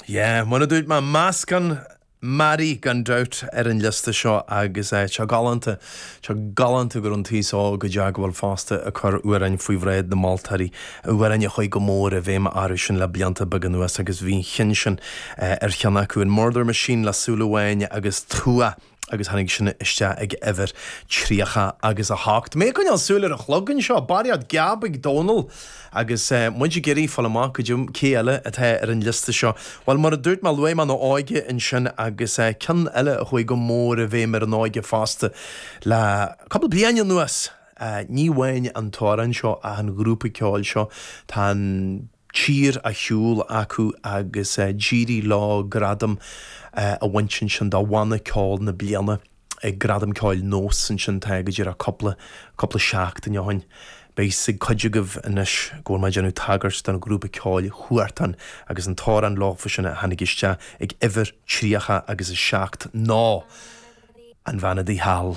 Yeah, mar a dúirt mé, meascán mearaí gan dabht ar an liosta seo agus tá sé galánta, tá sé galánta go raibh an t-aos óg go deo fosta ag cur amhráin faoi bhráid na moltóirí, amhráin a chuaigh go mór i bhfeidhm orthu sin le blianta beaga anuas agus bhí an cheann sin ar cheann acu, an Murder Machine le Súil Amháin agus Tuath. agus tháinig sin isteach ag uimhir 30 agus 8. Mé ag coinneáil súil ar an chlog anseo, barraíocht geab ag Dónal agus muid ag iarraidh fáil amach go dtí cé eile atá ar an liosta seo. Bhuel, mar a dúirt mé, luaigh mé an óige ansin agus ceann eile a chuaigh go mór i bhfeidhm ar an óige fosta le cúpla bliain anuas. Ní amháin an t-amhrán seo ach an grúpa ceoil seo. Tá an. tír á shiúl acu agus d'éirigh leo gradam a bhaint ansin do Bhanna Ceoil na Bliana ag Gradam Ceoil Nós ansin tá go díreach cúpla, cúpla seachtain ó shin. Beidh 'fhios ag cuid agaibh anois go bhfuil mé ag déanamh tagairt don ghrúpa ceoil Huartan agus an t-amhrán leofa sin a tháinig isteach ag uimhir 30 agus 7 ná An Bhean Adaí Thall.